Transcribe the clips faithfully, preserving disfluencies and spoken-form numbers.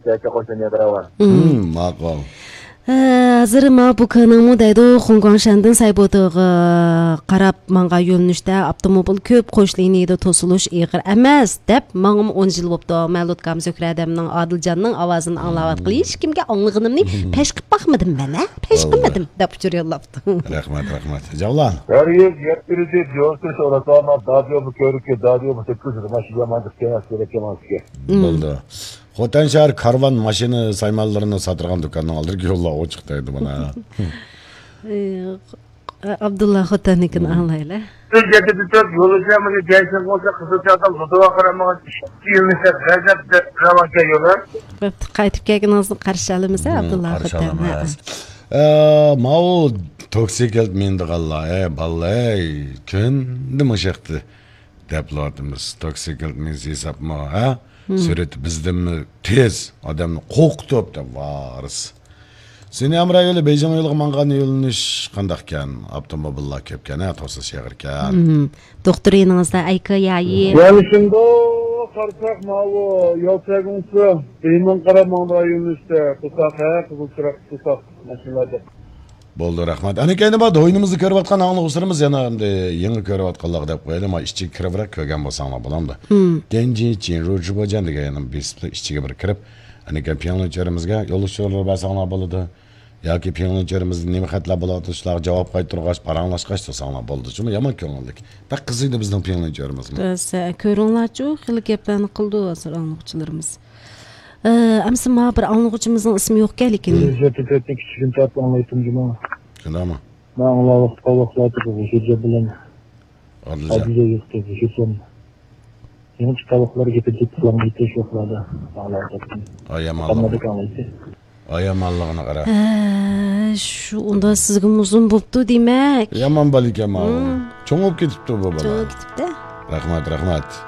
Чайка қойсаң ядырава. Мақал. Азыр Мабуканың мудайды Хонгконгшандын сайботыгы карап манга юлнушта автомобиль көп кош линияда тосулуш игир эмес деп маңым он жыл болупту. Малуткам Зөкрәдемнең Адылжанның авазын аңлап аткылы эч кимге аңлыгынымны пеш кып бакмадым мен, а? Пеш кылмадым деп учур жоллапты. Рахмат, рахмат. Жавлан. Бәргә яттырды, җорсы сорасама, дадио көрүккө, дадио теккүз машина мандык кеңес керек эмаске. Болду. Хотан шаар карван машина саймалларына сатырган дүканның алдырки жолла очуктайды мына. Абдулла Хотаникин аңлайлы. Сен жетип төп жолучамын жайсын болса кызычадан зотова карамаган кийимсе газап деп раманка жолар. Кайтып келгениңизди каршы алабыз, Абдулла Хотаник. Э, мау токсикелт менди калла, э, баллай, көн дымышакты деп лардымыз. Токсикелт мен сисапма, а? Сүрет бизден тез адамны коктоп да варыс. Сени амрагеле Бейжің ойлығы маңған елініш қандақ кен, автомобилла кеп кен, тосы шеғір кен. Доктор еніңізді айқы яйы. Ялышында қарсақ мауы, елсәгіңсі, беймін қара маңда елінішті, тұсақ, ә, қызыл сұрақ тұсақ машиналады. Болды, рахмат. Әне кәйні бады, ойынымызды көріп атқан аңлы құсырымыз, яна еңі көріп атқаллағы деп қойды, ма ішчі кірібірек көген болсаңла боламды. Денжи, чин, рүржі бөжен деген еңім бесіпті ішчіге бір кіріп, әне кен пиңлінчерімізге yoluşçular басаңла болыды, яки пиңлінчерімізді немі қәтлі болады, ұшлағы жауап қай тұрғаш, параңлашқаш тұрсаңла болды. Жүмі яман көңілдік. Бәк қызыйды біздің пиңлінчеріміз. Көріңлар жоқ, қылы кепләні қылды азыр аңлықчыларымыз. Әмсі ма бір аңлығычымыздың ісімі yok gel екен. Жетіпетін кішігін тартып аңлайтын жүма. Шында ма? Мен аңлалық қалық жатып, жүрже білем. Адылжа. Адылжа ектіп, жүрсем. Ең қалықлар кетіп жетіп аңлайты шоқлады. Аңлайтын. Аямаллығына. Аямаллығына қара. Шу, онда сізгім ұзын бұпты демек. Яман балик ямал. Чоңып кетіпті бұл бала. Чоңып кетіпті. Рахмат, рахмат.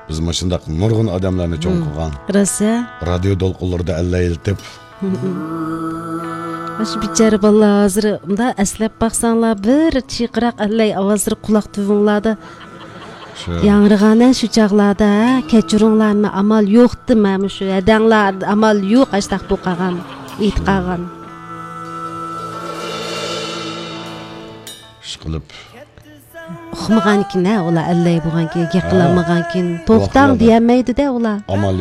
Biz мышындақ нұрғын адамларны чоң қылған. Раса? Радио долқыларды әлі елтіп. Ашы бичары бала азыр, мұнда әсләп бақсаңла бір чиқырақ әлі авазыр құлақ түвіңлады. Яңырғанын шу чағлады, кәчіріңларны амал yoqты мәмі шу, әдәңлар амал yoq әштақ бұқаған, итқаған. Шықылып. Ұқымыған кен, ола әлі бұған кен, кеқіламыған кен, тоқтан деймейді де ола. Амал